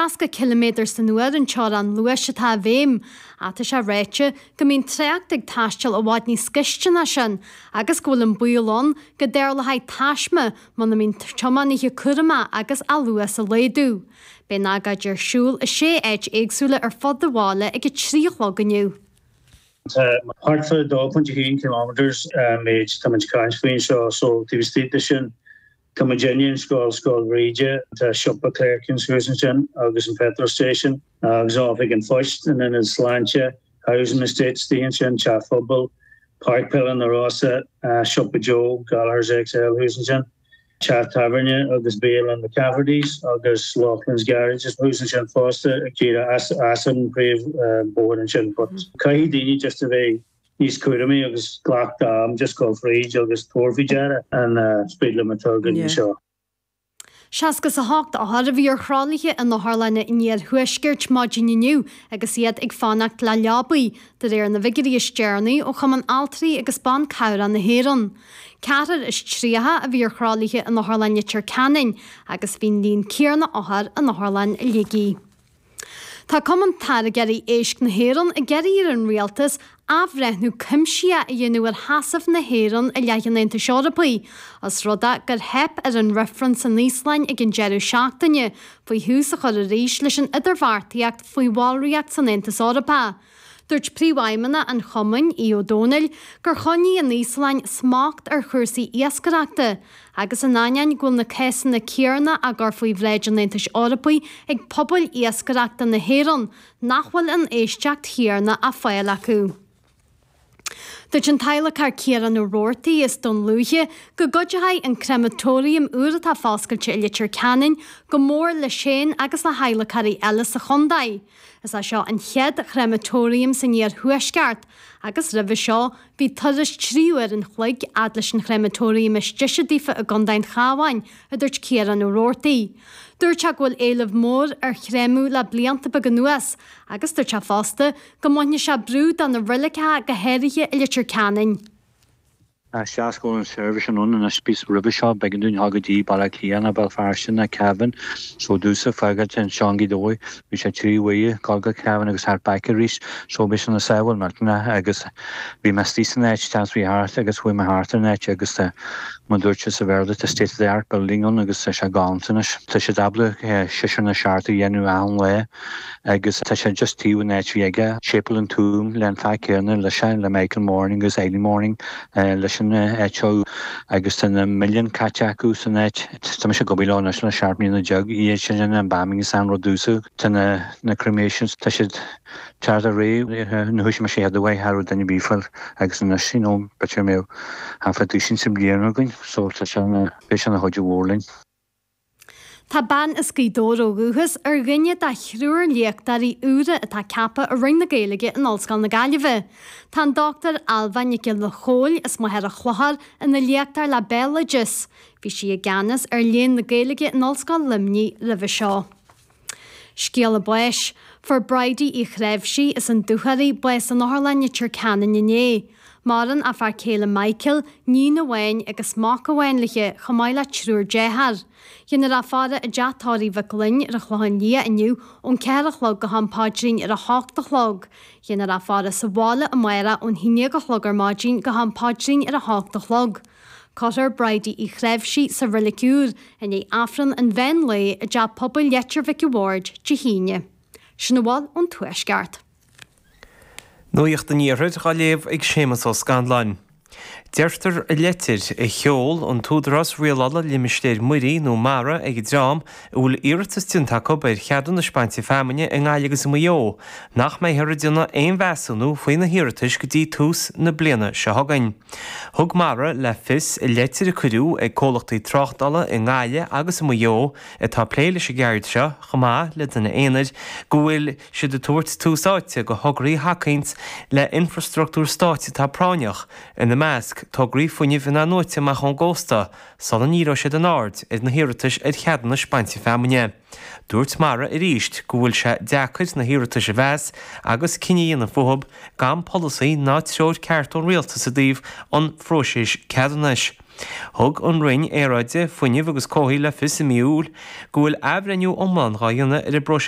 60 ciliméadar san uair an teorainn luais atá i bhfeidhm, ach tá sé ráite go mbíonn trácht ag taisteal i bhfad níos gaiste ná sin agus go bhfuil an baol ann go dtarlóidh taisme muna mbíonn tiománaithe cúramach agus a luas a laghdú. Beidh an agóid ar siúl i sé áit éagsúla ar fud an bhaile ag a 3 a chlog inniu. Tá thart fá 2.1 kilometres an méid tá muid ag caint faoi anseo so taobh istigh de sin tá muid i ndiaidh an scoil, Scoil Bhríde, tá siopa Clerkins thuas ansin agus an petrol station agus oifig an phoist, an ionad sláinte, housing estate istigh ansin, teach phobail, Páirc Peile na Rosa, Siopa Joe, Gallagher's XL thuas ansin, teach tábhairne agus bialann McCafferty's agus Loughlin's Garage thuas ansin fosta, díreach as an bpríomhbhóthar ansin. But caithfidh daoine just a bheith níos cúramaí agus glac d'am just dul fríd agus tabhair faoi deara an speed limit atá againn anseo. 68 othar a bhí ar thralaithe in otharlanna an iarthuaiscirt maidin inniu agus iad ag fanacht le leabaí, de réir na bhfigiúirí is deireanaí ó Chumann Altraí agus Ban Cabhrach na hÉireann. 34 a bhí ar thralaithe in Otharlann Leitir Ceanainn agus bhí an líon céanna othar in Otharlann Shligigh. Tá Cumann Táirgeoirí Éisc na hÉireann ag iarraidh ar an Rialtas athbhreithniú cuimsitheach a dhéanamh ar sheasamh na hÉireann i leith an Aontais Eorpaigh, os rud é gur theip ar an reifreann san Íoslainn ag an deireadh seachtaine faoi thús a chur arís leis an idirbheartaíocht faoi bhallraíocht san Aontas Eorpach. Dúirt Príomhfheidhmeannach an Chumainn, Aodh Ó Domhnaill, gur choinnigh an Íoslainn smacht ar chúrsaí iascaireachta agus in ainneoin go bhfuil na cásanna céanna á gcur faoi bhráid an Aontais Eorpaigh ag pobail iascaireachta na hÉireann, nach bhfuil an éisteacht chéanna á fáil acu. Dúirt an t-adhlacóir Ciarán Ó Roarty as Dún Lúiche go gcuideoidh an créamatóiriam úr atá foscailte i Leitir Ceanainn go mór leis féin agus le hadhlacóirí eile sa chontae. Is é seo an chéad chréamatóiriam san iarthuaisceart agus roimhe seo bhí turas 3 uair an chloig fhad leis an chréamatóiriam is deise daofa i gContae an Chabháin, a dúirt Ciarán Ó Roarty. Dúirt sé go bhfuil éileamh mór ar chréamadh le blianta beaga anuas agus dúirt sé fosta go mbainfeadh sé brú de na reiligeacha go háirithe i Leitir Ceanainn. Is go bhfuil an seirbhís ann anois bíos roimhe seo b'éigean dúinn dhul go dtí Baile Átha Cliath nó Béal Feirste nó Cavan so domhsa fágáilt anseo i nGaoth Dobhair bhí sé 3 uaire dul go Cavan agus thart back arís so bhí sé ina sábháil millteanach agus bhí mé istigh san áit chance bhí thart agus chuaigh mé thart ar an áit agus tá mar dúirt sé sa Bhéarla tá state of the art building ann agus tá sé galánta anois. Tá siad ábalta seisear nó seachtar a dhéanamh achan lá. Agus tá sé just taobh an áit bhí aige, Séipéal an Tuaim le an fear céanna leis le Michael Moran agus Eileen Moran leis an áit seo agus tá na milliúin caite acu san áit. Tá mise ag obair leo anois le 17 mbliana, iad sin an embalming is an rud domhsa. Tá na na cremations, tá siad teacht ar réidh, nuair a thoisigh mise iad uaidh cha raibh duine ar bith fáil agus anois you know b'fhéidir go mbeadh thart fá duisín sa mbliain againn so tá sé ina, beidh sé ina chuidiú mhór linn. Tá bean as Gaoth Dobhair ó dhúchas ar dhuine de thriúr léachtóirí úra atá ceaptha i Roinn na Gaeilge in Ollscoil na Gaillimhe. Tá an Dr Ailbhe Nic Giolla Chóill as Machaire Chlochair ina léachtóir le Béaloideas. Bhí sí i gceannas ar Léann na Gaeilge in Ollscoil Luimnigh roimhe seo. Scéala báis. Fuair Bridie Uí Chnáimhsí as an Dúchoraidh bás in Otharlann Leitir Ceanainn inné. Maireann a fear céile Michael, níon amháin agus mac amháin léi, chomh maith le triúr dearthár. Déanfar í a fhaire i dteach tórraimh Mhic Fhloinn ar an Chlochán Liath inniu ón 4 a chlog go ham paidrín ar a hocht a chlog. Déanfar í a fhaire sa bhaile amárach ón haon déag a chlog ar maidin go ham paidrín ar a hocht a chlog. Cuirfear Bridie Uí Chnáimhsí sa Reilig Úr i ndiaidh Aifreann an mheán lae i dTeach Pobail Leitir Mhic a' Bhaird Dé hAoine. Sin a bhfuil ón Tuaisceart. Nuacht an Iarthair dhá léamh ag Séamus Ó Scanláin. Deirtear i leitir a sheol an tÚdarás Rialála Limistéir Muirí nó mara ag an dream a bhfuil iarratas déanta acu ar cheadúnais bainte feamainne i nGaillimh agus i Maigh Eo nach mbeifear ag déanamh aon mheasúnú faoi na hiarratais go dtí tús na bliana seo chugainn. Thug Mara le fios i leitir a cuireadh ag comhlachtaí tráchtála i nGaillimh agus i Maigh Eo atá ag plé leis an gceird seo, chomh maith le duine aonair, go bhfuil siad ag tabhairt tús áite go thograí a thacaíonns le infrastruchtúr stáit atá práinneach, ina measc, tograí fuinnimh in-athnuaite amach ón gcósta, sula ndíreoidh siad a n-aird ar na hiarratais ar cheadúnais bainte feamainne. Dúirt Mara arís go bhfuil sé deacair na hiarratais a mheas agus cinneadh a dhéanamh fúthu gan polasaí ná treoir ceart ón rialtas i dtaobh an phróisis ceadúnais. Thug an Roinn Aeráide, Fuinnimh agus Comhshaoil le fios i mí Iúil go bhfuil athbhreithniú iomlán dhá dhéanamh ar an bpróiseas.